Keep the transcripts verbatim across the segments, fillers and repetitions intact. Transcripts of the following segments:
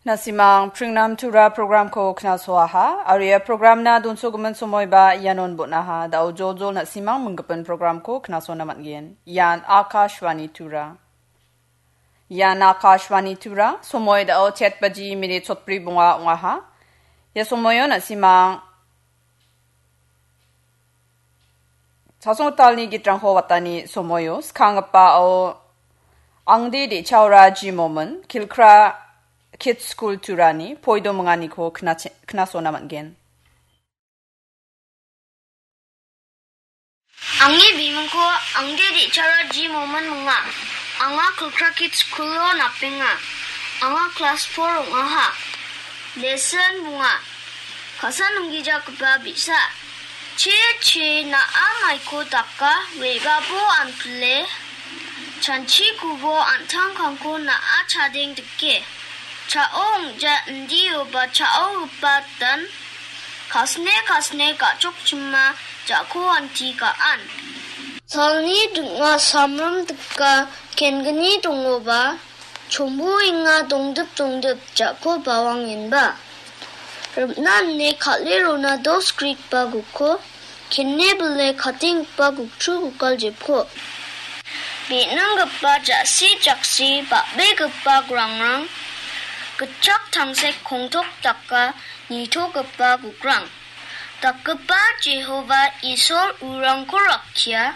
Na·simang Pringnam Tura programko knasoaha, aro ia programna donsogimin somoiba ianon bon·aha, da·o joljol na·simang minggipin programko knasona man·gen. Ian Akashvani Tura. Ian Akashvani Tura, somoi da·o chet baji minit chotbri bonga ong·aha. Ia somoio na·simang Chasongtalni gitrangko watani somoio skanggipao Angde De·chaora G. Momin, Kilkra Kids School Turani poido minganiko knache-, knasona man·gen. Angni bimingko Angde De·chaora G. Momin minga. Anga Kilkra Kids School-o napenga. Anga klas four ong·aha. Lesson bonga. Ka·sa nonggijagipa bi·sa. Che, che, na·a maiko daka, re·babo anpile, chanchikobo an·tangkangko na·a chadeng dike. Cha·o ong·ja indioba cha·ogipa dan, kasne, kasne ga·chokchima ja·ko anti ga·an. Salni ding·a samrim dika kengni dongoba, chomboenga dongdip dongdip ja·ko bawangenba. Rimna ine kal·e rona dos grikba gukko, kene bile katenggipa guktru gukal jepko. Be·ninggipa ja·si jaksi bal·begipa grangrang, gitchak tangsek kongtok daka nitogipa gukrang. Dakgipa Jehova Isol urangko rakkia,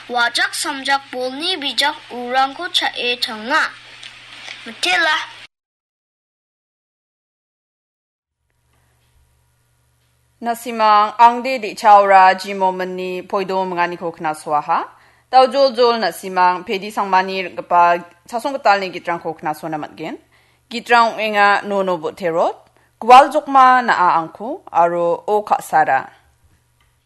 wajak samjak bolni bijak urangko cha·e tanga. Mitela. Na·simang Angde De·chaora G. Mominni poido minganiko knasoaha. Da·o joljol na·simang Pedi Sangmani ring·gipa Chasonggitalni gitrangko knasona man·gen. Gitrang ong·enga Nono Boterot, Gual Jokma Na·a Angku, aro O Ka·sara.